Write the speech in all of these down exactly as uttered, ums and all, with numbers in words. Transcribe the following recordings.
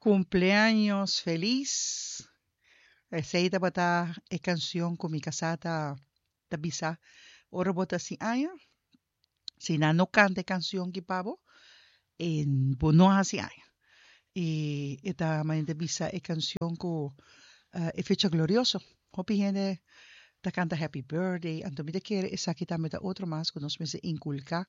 Cumpleaños feliz. Esey tabata e cancion cu mi casa ta ta bisa ora bo ta haci aña. Si nan no canta e cancion ki pa bo, e bo no a haci aña. Y e ta manera bisa e cancion cu e fecha glorioso. Hopi hende ta canta happy birthday, anto mi ta kere esaki tambe ta otro mas cu nos mester inculca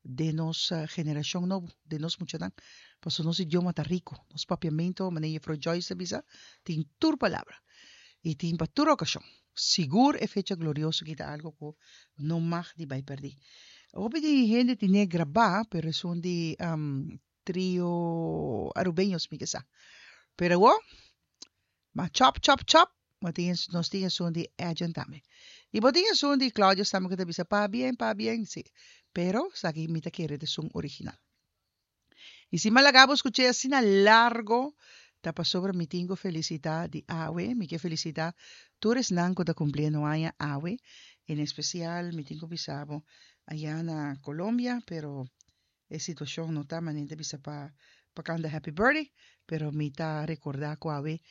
den nos generacion nobo, den nos muchanan. Pasobra nos idioma ta rico, nos papiamento, manera Juffrouw Joyce ta bisa, tin tur palabra y tin pa tur ocasion. Sigur e fecha glorioso aki ta algo cu no mag di bay perdi. Hopi di hende tine graba, pero esun di Trio Arubeños mi ke sa. Pero awor, ma chop chop chop, bo tin nos tin esun di Edjean tambe. Y bo tin esun di Claudius tambe cu ta bisa pabien, pabien, si. Pero esaki mi ta kere ta esun original. Y si mi a laga bo scucha asina largo, ta pasobra mi tin cu felicita di awe, mi ke felicita tur esnan cu ta cumpliendo aña awe, en especial mi tin cu bisa bo aya na Colombia, pero e situacion no ta manera ta bisa pa pa canta happy birthday, pero mi ta recorda cu awe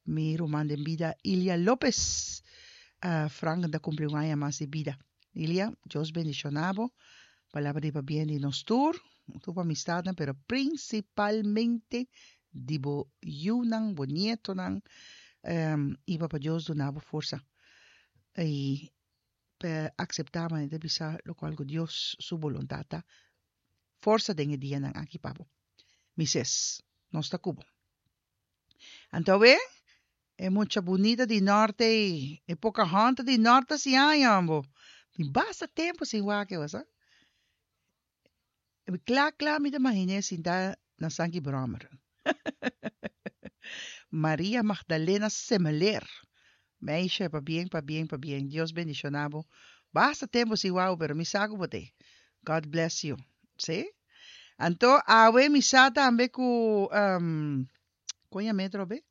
mi ruman den bida Ilia Lopez Frank ta cumpli un aña mas di bida. Ilia, Dios bendiciona bo, palabra di pabien di nos tur, tur bo amistadnan, pero principalmente di bo yunan, bo nietonan, y Papa Dios duna bo forsa y pa acepta manera ta bisa locual cu Dios su boluntad ta. Forsa den e dianan aki pa bo. Mi ses, nos ta cu bo. Anto awe, e mucha bunita di norte ei, e Pocahontas di norte a siña aña bo. Tin basta tempo sin wak e, sa. Kla kla mi ta imaginé sinta na Sanki Brommer. Maria Magdalena Semeleer. Meisje, pabien, pabien, pabien. Dios bendiciona bo. Basta tempo sin wak, pero mi sa cu bo t'ei. God bless you. Sí? Anto, awe mi sa tambe cu um, coña metro be?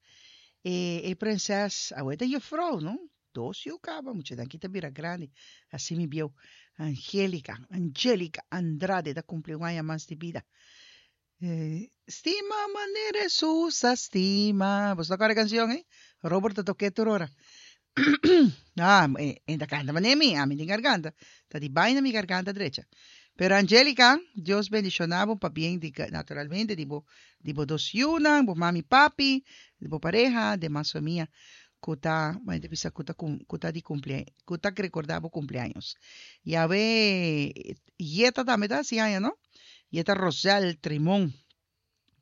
E, e prinses, awe ta juffrouw, no? Dos yu caba, muchanan ki ta bira grandi. Así mi bieu. Angelica, Angelica Andrade ta cumpli un aña mas di bida. Eh, stima manera Jesus a stima. Bo ta corda e cancion, eh? Robert ta toke tur ora. Ah, e, e ta canta manera mi, ami tin garganta. Ta di baina mi garganta drecha. Pero Angelica, Dios bendiciona bo pabien di, naturalmente, di bo, di bo dos yunan, bo mami, papi, di bo pareha, demas famia, cu ta, ma bisa cu ta, cu ta di cumple, cu ta recorda bo cumpleaños. Y awe, Yeta tambe ta haci aña, no? Yeta Rosel Trimon.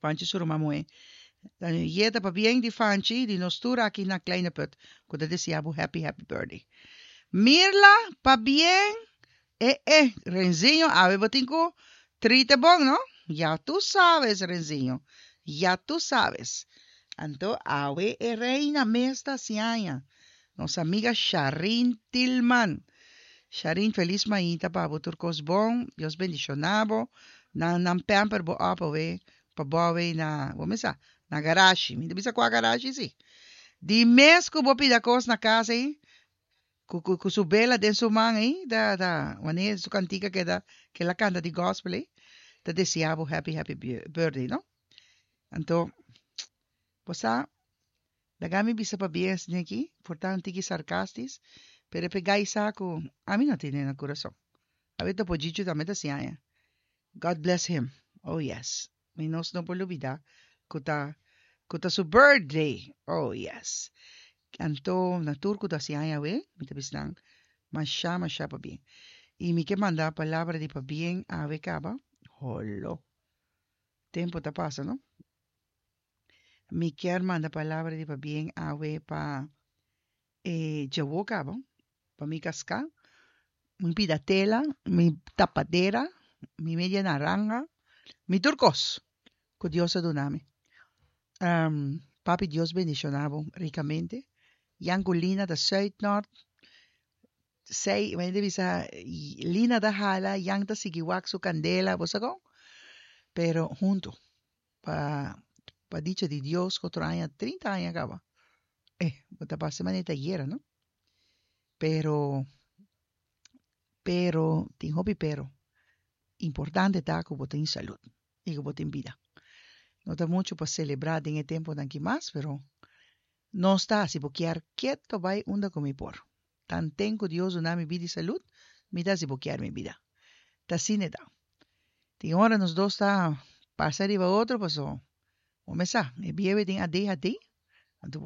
Fanchi su ruman muhe. Yeta pabien di Fanchi, di nos tur aki na Kleine Put, cu ta desea bo happy, happy birthday. Mirla, pabien, eh, eh, Renzinho, awe bo tin cu trite bon, no? Ya tu sabes, Renzinho. Ya tu sabes. Anto, awe e reina mes ta haci aña. Nos amiga Sharin Tilman. Sharin, feliz mainta pa bo tur cos bon. Dios bendiciona bo. Nan, nan pamper bo op awe, pa bo awe na, bo mesa, na garage. Mi ta bisa cua garage si. Di mes cu bo pida cos na cas ei, cu, cu, cu su bela den su man ei, da, da, wanneer su cantica que da, que la canta di gospel ei, ta desea bo happy, happy birthday, no? Anto, bo sa, laga mi bisa pabien aki, por ta un tiki sarcastisch, pero pega sa cu ami no tin na curason. Awe Topo Gigio tambe ta haci aña. God bless him. Oh yes. Mi nos no por lubida cu ta cu ta su birthday. Oh yes. Anto na tur cu ta haci aña awe, mi ta bisa nan masha masha pabien. Y mi ke manda palabra di pabien awe caba. Holo. Tempo ta pasa, no? Mi kier manda palabra di pabien awe pa eh, djawo caba, pa mi casca, mi pida tela, mi tapadera, mi media naranja, mi tur cos cu Dios a duna mi. Um, papi Dios bendiciona bo ricamente. Jan cu Lina ta Zuid-Noord. Sei, mi bisa, Lina ta hala, Jan ta sigui wak su candela, bo sa con? Pero hunto, pa, pa dicha di Dios, otro aña, trinta aña caba. Eh, bo ta pasa manera ayera, no? Pero, pero, tin hopi pero. Importante ta cu bo tin salud y cu bo tin bida. No ta mucho pa celebra den e temponan aki mas, pero nos ta hasi bo kier keto bai unda cu mi por. Tanten cu Dios duna mi bida y salud, mi ta hasi bo kier mi bida. Ta asina e ta. Tin ora nos dos ta pasa riba otro paso bo mes sa, e biebe tin A D H D.